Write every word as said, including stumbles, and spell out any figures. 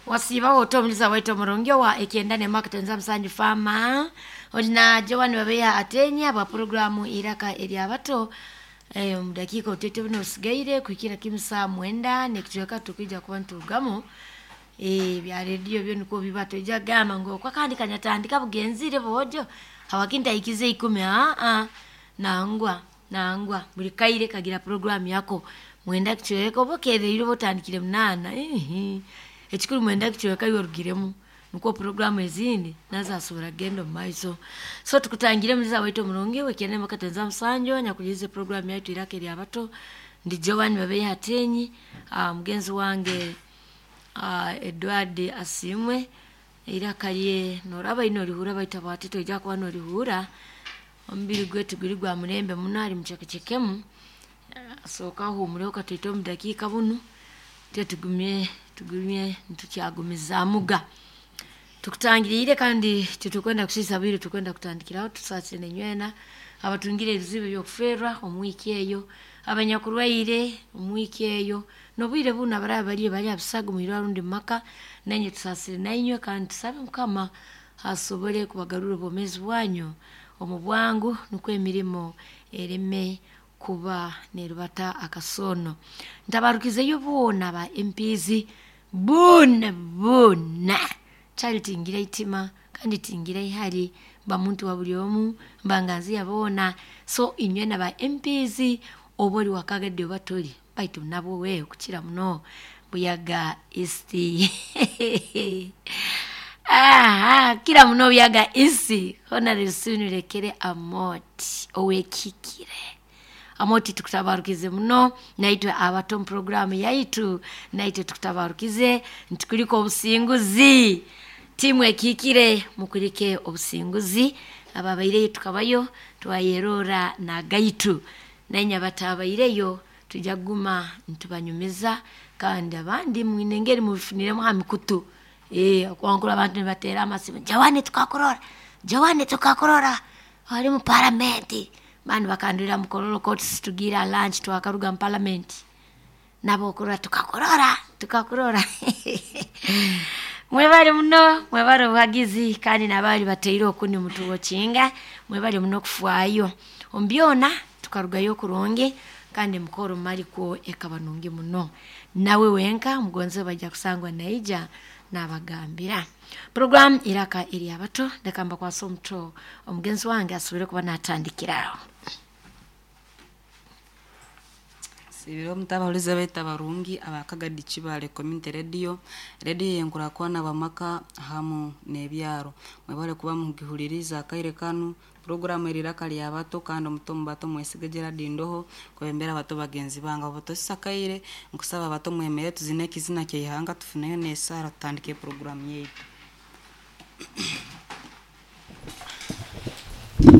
Wasiiba ota omuliza waitu omurungi owa ekyenda nemakutenza musanju fama olina Joan Babeya atenya bwa programu iraka eryabato. Eh, omudakiika otete buno osigaire kuhikira kimu saa mwenda nekicweka tukwija kuba niturugamu. Eh, bya rediyo byo nikwo biba toija kugamba ngu okwo akandi kanyatandika bugenzire bwojo habwaki ntahikize ikumi. Aa, nangwa nangwa buli kaire kagira programu yako. Mwenda kicweka oba okereire oba otandikire munaana, ihi ekikuru mwenda kicweka iwe orugiremu nikwo programu ezindi nazo asobora kugenda omu maiso. So tukutangire omuliza waitu omurungi wekyenda makatenza musanju nyakulize programu yaitu iraka eryabato. Ndi Joan Babeya Atenyi, uh, mugenzi wange uh, Edward Asimwe. Iraka lye noraba ino orihura baita bwati toija kuba norihura. Omubiri gwetu guri gwa murembe muno ali mucekecekemu. Asooka ahumureho katoito omu dakiika bunu twe tugumye tugumye nitukyagumizaamuga. Tukutangiriire kandi titukwenda kusiisa bwire, tukwenda kutandikiraho. Tusaasire nenywena abatungire ebizibu eby'okufeerwa omu wiiki eyo, abanyakurwaire omu wiiki eyo, n'obwire bunu abaraba bariyo bari abisago mwirwarro rundi mu maka, nainywe tusaasire nainywe kandi tusabe Mukama asobole kubagarurra obwomeezi bwanyu omu bwangu nukwo emirimo ereme kuba nerubata akasoono. Ntabarukizeyo boona ba M Ps boona boona. Kyali tingira itima kandi tingira ihari mba muntu wa buli omu mbanganzi ya boona. So inywe na ba M Ps oba ori wakagadde oba tori baitu nabwo we kukira muno Buyaga East. Aha, kira muno Buyaga East. Honorable Sinirekere Amoti owekikire. Amoti tukutabarukize muno naitwe abato mu programu yaitu naitwe tukutabarukize ntukuliko obusinguzi. Timu ekikire mukulike obusinguzi. Ababaireyo tukabayo twayerora na gaitu nainya batabaireyo tujja kuguma ntubanyumiza kandi abandi mwine engeri mubifuniremu ha mikutu. Eh, okwankura abantu nibateera amasimu, Joan tukakurora, Joan tukakurora ali mu paramenti. Bani bakandurira mukororo courts tugira lunch twakaruga mu parliament. Nabo okurora tukakurora tukakurora. Mwebale muno, mwebale obuhagizi kandi n'abali bateire okuni mutuwokinga, mwebale muno okufwayo. Omu byona tukarugayo kurungi kandi mukoro malikwo ekaba nungi muno. Nawe wenka mugonze bajja kusangwa naija nabagambira. Program iraka eri abato ndeka mbakwasa omuto omugenzi wange asobole kuba natandikiraho. Sibiro mutabahuliza baita barungi abakagadi Kibale Community Radio, radio yenkurakwana bamaka hamu n'ebyaro. Mwebale kuba mugihuliriza akaire kanu programu eriraka lya bato kandi omuto mu bato mwesige Gerard Ndoho kwembera abato bagenzi bange abo tosakaire nkusaba abato mwemere tuzine ekizina kyeihanga tufuneyo n'esaara tutandike programu yaitu.